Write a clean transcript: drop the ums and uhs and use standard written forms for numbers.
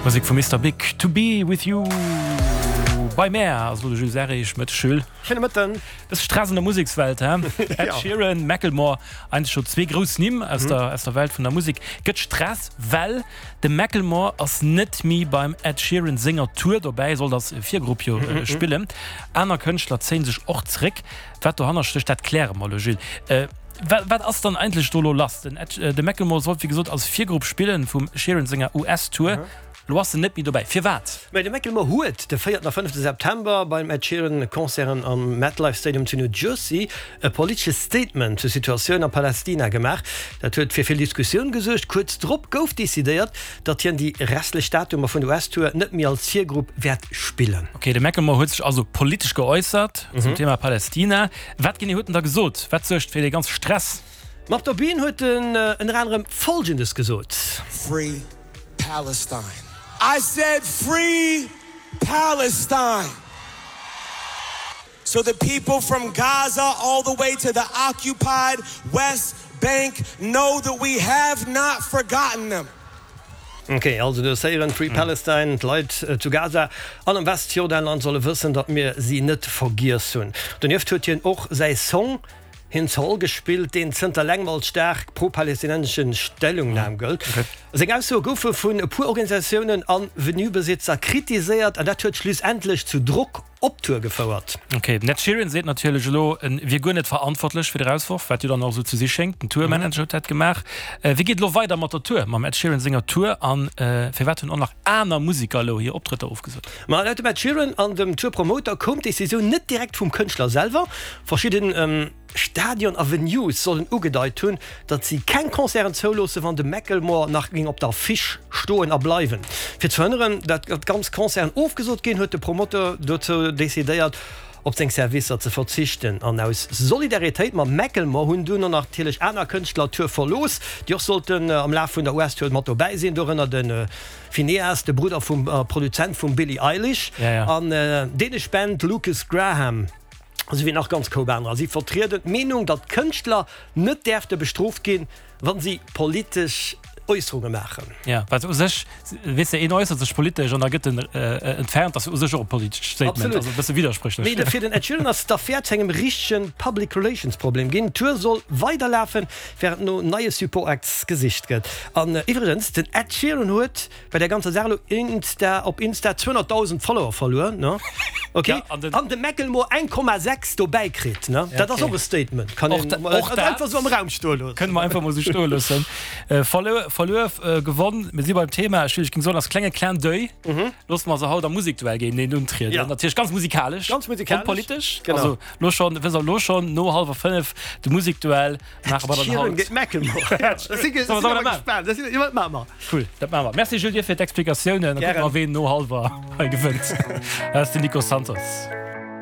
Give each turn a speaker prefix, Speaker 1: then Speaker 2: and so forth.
Speaker 1: Musek vum Mister Big, To Be With You bei mär ass elo de Jules Serrig. Mëtteg Jules.
Speaker 2: Schéine Mëtten.
Speaker 1: Bësse Stress an der Musekswelt, hä? Ed Sheeran, Macklemore, eigentlech scho zwee grouss Nimm aus der aus der Welt vun der Musek. Gëtt Stress, well de Macklemore ass net méi beim Ed Sheeran senger Tour dobäi, sollt als Virgrupp jo spillen. Aner Kënschtler zéie sech och zréck. Wat dohanner stécht, dat kläre mer elo, Jules. Wat ass dann eigentlech do elo lass? Den Ed, de Macklemore sollt wéi gesot als Virgrupp spillen vum Sheeran senger US-Tour. Elo ass en net méi dobäi. Firwat?
Speaker 2: Mä de Macklemore huet de véierten a fënnefte September beim Ed Sheeran Concerten am MetLife Stadium zu New Jersey e politesche Statement zur Situatioun a Palästina gemaach. Dat huet fir vill Diskussioun gesuergt. Kuerz drop gouf decidéiert, datt hien déi restlech Datumer vun der US-Tour net méi als Virgrupp wäert spillen.
Speaker 1: Ok, de Macklemore huet sech also politesch geäussert zum Thema Palästina. Wat genee huet en da gesot? Wat suergt fir dee ganze Stress?
Speaker 2: Ma op der Bühn huet en ënner anerem Folgendes gesot.
Speaker 3: Free Palestine. I said free Palestine! So the people from Gaza all the way to the occupied West Bank know that we have not forgotten them.
Speaker 2: Ok, also du hues héieren, Free Palestine, d'Leit zu Gaza an am Westjordanland solle wëssen, datt mir si net vergiess hunn. Donieft huet hien och säi Song Hind's Hall gespillt, deen zënter längem als staark pro-palästinensesche Stellungnam gëllt. Seng Aussoe goufe vun e puer Organisatiounen a Venue-Besitzer kritiséiert an dat huet schlussendlech zu Drock op d'Tour gefouert.
Speaker 1: Ok, den Ed Sheeran seet natierlech elo, en wier guer net verantwortlech fir de Rausworf, wat jo dann och esou ze si schéngt. Den Tourmanager huet dat gemaach. Wéi geet et elo weider mat der Tour, mam Ed Sheeran senger Tour an firwat hunn och nach aner Museker elo hir Optrëtter ofgesot?
Speaker 2: Ma laut dem Ed Sheeran an dem Tourpromoter koum d'Decisioun net direkt vum Kënschtler selwer. Verschidden. Stadion a Venues sollen ugedeit hunn, datt si keng Concerten zouloossen, wann de Macklemore nach géing op der Affiche stoen a bleiwen. Fir ze verhënneren, datt ganz Concerten ofgesot ginn, huet de Promoteur dozou decidéiert, op seng Servicer ze verzichten. An aus Solidaritéit mam Macklemore hunn dunn och natierlech aner Kënschtler d'Tour verlooss, déi och sollten am Laf vun der US-Tour mat dobäi sinn, dorënner de Finneas, de Brudder vum Produzent vum Billie Eilish, an dänesch Band Lukas Graham. Esou wéi nach ganz Koup anerer. Si vertrieden d'Meenung, datt Kënschtler net däerfte bestrooft ginn, wa si politesch Äusserunge maachen.
Speaker 1: Jo, wat u sech, weess de, een äussert sech politesch an da gëtt en entfernt, ass jo u sech och e politescht Statement.
Speaker 2: Absolut.
Speaker 1: Also e bësse widderspréchlech.
Speaker 2: Mee fir den Ed Sheeran ass d'Affär zu engem richtege Public Relations Problem ginn. D'Tour soll weiderlafen, wärend no neie Support Acts gesicht gëtt. An iwwregens, den Ed Sheeran huet Bei der ganzer Saach elo Insta op Insta 200.000 Follower verluer ne ok
Speaker 1: Ja, an den-
Speaker 2: an de Macklemore 1,6 dobäi kritt ne
Speaker 1: Ja,
Speaker 2: dat ass
Speaker 1: okay.
Speaker 2: och e Statement kann
Speaker 1: Och
Speaker 2: een
Speaker 1: da-
Speaker 2: mol
Speaker 1: och dat
Speaker 2: einfach sou am Raum stoe loossen.
Speaker 1: Kënne mer einfach mol sou stoe loossen. Äh, verluer, verluer, äh, gewonn. Mir si beim Thema. Ech ging soen, als klenge Clin d'oeil loosse mer se haut am Musekduell géinteneen untrieden.
Speaker 2: Ja.
Speaker 1: Natierlech ganz musikalesch.
Speaker 2: Ganz musikalesch.
Speaker 1: Und politesch.
Speaker 2: Genau.
Speaker 1: Also lo schon, wësst der lo schon, no hallwer 5 de Musekduell maache mer dann
Speaker 2: Sheeran
Speaker 1: haut.
Speaker 2: géint Macklemore. Ja, dat si
Speaker 1: Solle mer dat maachen?
Speaker 2: gespaant. Dat si, jo, dat maache mer.
Speaker 1: Cool, dat maache mer. Merci Jules dir fir d'Explikatiounen. Da kucke mer ween no hallwer hei gewënnt. Dat ass den Nico Santos.